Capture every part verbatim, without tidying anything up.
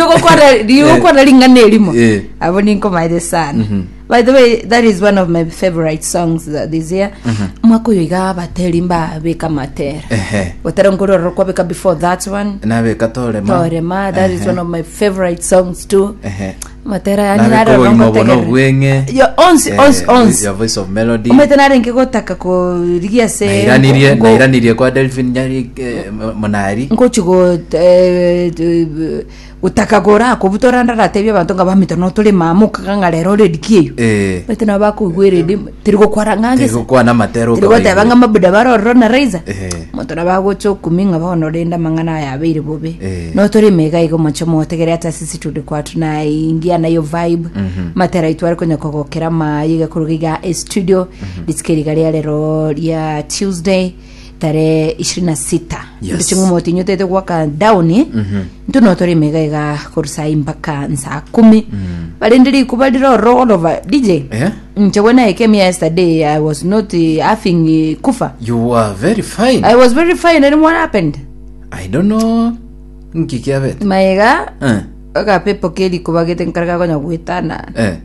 Riogokwana riogokwana ring'ana erimo. Eh. Abo ninkomaete sana. By the way, that is one of my favorite songs uh, this year. Mwaka oyo iga abateri mbabeka matera. Ehe. Gotera nkorora kwabeka before that one. Nabeka torema. Torema, that is Ehe. one of my favorite songs too. Ehe. Matera yani Nabeka narora obogima obo ngotegerera. nobweng'e. Yo, onsi, Eh, onsi, onsi. Your voice of melody. Omanyete narenge gotaka korigia ase Nairanirie ngo- nairanirie kwa Delphine Nyari eh, Monari. ngochi go eh, eh, gotaka gora kobutora ndaratebia abanto nga bamito notore mamuka ng'a rero redi eyo Eh. bete nabo bakoigwa eredi tiri gokwara ng'angese Tigokwana matero tiri goteba ng'a mabuda barororo na raiza Eh. monto nabagocha okumi ng'a bono rende amang'ana aya abeire bobe Eh. notore mega igo moche motegere ata sisi turi kwa tunaingia nayo vibe matera aitu ari konya kogokera mayi gakoruga iga e studio ritsike riga ria rero ria tuesday tarehe ishirini na sita Yes. ndiching'u motinyo tete gwaka down ntu notore mega iga korusa mpaka nsaa kumi barindi rikuba riroro all over dj Eh? nche when i came here yesterday i was not uh, having uh, kufa You are very fine. I was very fine and what happened? I don't know. Nkikiabete. Maega Eh. akapepo keli kubagete nkarga konya gwitana Eh.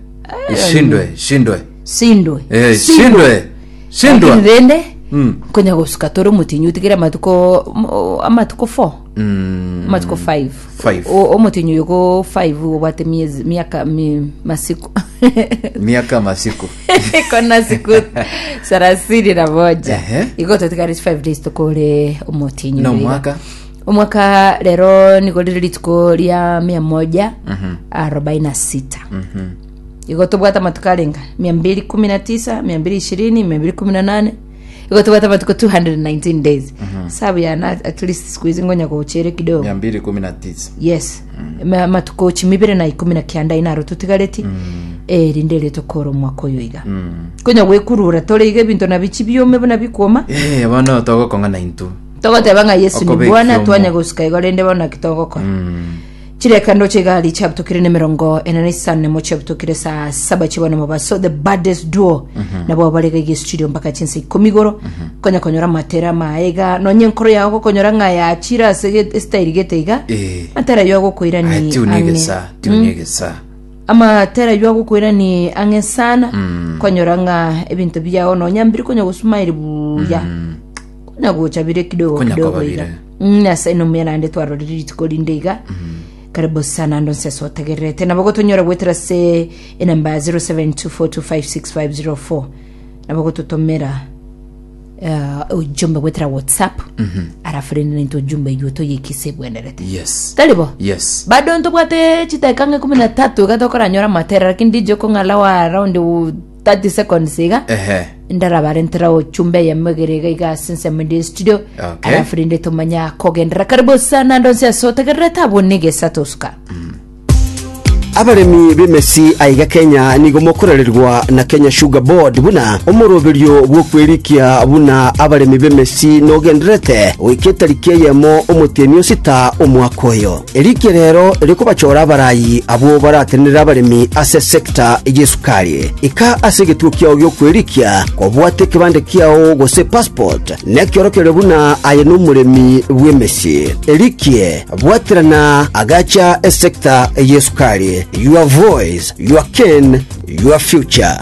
Shindwe, shindwe. sindwe. Eh, shindwe. Shindwa. Lakini rende Mm. konya gusuka toro mutinyu tigera matuko mo- amatuko four Mm. amatuko five Five. O- omutinyu yuko five obwate miezi miaka mi, masiku Miaka masiku. kona siku thelathini na moja Ehe. iko tutigari five days tukore omutinyu No iga. mwaka. omwaka rero niko riri rituko ria mia moja arobaini na sita igo tobwata matuko arenga mia mbili kumi na tisa mia mbili ishirini mia mbili kumi na nane igo tobwata matuko two hundred and nineteen days sabu yana at least siku hizi ngonya kuchere kidogo Mia mbili kumi na tisa. yes Ma- matuko chimibere na ikumi na kianda inaro tutigareti eh rinde rito koro mwaka oyo iga konya gwikurura tore iga ebinto na bichi biume buna bikuoma Eh, bono togokong'ana intu. togoteba ng'a yesu ni Okobeka bwana omo. twanya gusuka igo rende bono kitogokora Mm. chireka ndoche igali chabutokire ne mirongo ena na isano nemo chabutokire saa saba chibona mobaso the baddest duo nabo barega ige studio mpaka chinsa ikumi igoro konya konyora matera maega nonye nkoro yago gokonyora ng'a yachira ase ge- estyle gete iga Eh. matera yo agokoira Ai, ni tiuni ang'e. gesa, tiuni gesa. amatera yo agokoira ni ang'e sana konyora ng'a ebinto biago nonya mbiri konya gosumairi buya konya gocha bire kidogo Konya kidogo koba iga bire. Mm, nyasaye nomuya naende twarorire rituko rinde iga karibu sana ndo nseso otegererete nabo gotonyora gwetera se enamba ya zero seven two four two five six five zero four nabo gototomera uh, ujumbe gwetera whatsapp arafu rende nento ujumbe igo toyekise bwenderete Yes. taribo Yes. bado ntobwate chidakika ng'a ikumi na tatu iga tokoranyora matera lakini ndijo kong'ala wa around thirty seconds iga Ehe. ndarabarentera ochumbe yamegere iga iga since mende studio Okay. alafu rinde tumanya kogendera karibu sana ndonse asotegerera abo nigesa tosuka Abaremi b'emesi aiga Kenya nigo mokorererwa na Kenya Sugar Board buna omoroberio bwokwerikia buna abaremi b'emesi nogenderete goika etariki eyemo omotienyi osita omwaka oyo erikia rero erikobachora abarayi abwo baratenera abaremi ase sector y'esukari ika ase egetuo kiao giokwerikia kobwate ekebande kiao gose passport nekiorokererio buna aye nomoremi bw'emesi erikie bwaterana agacha esector y'esukari. Your voice, your cane, your future.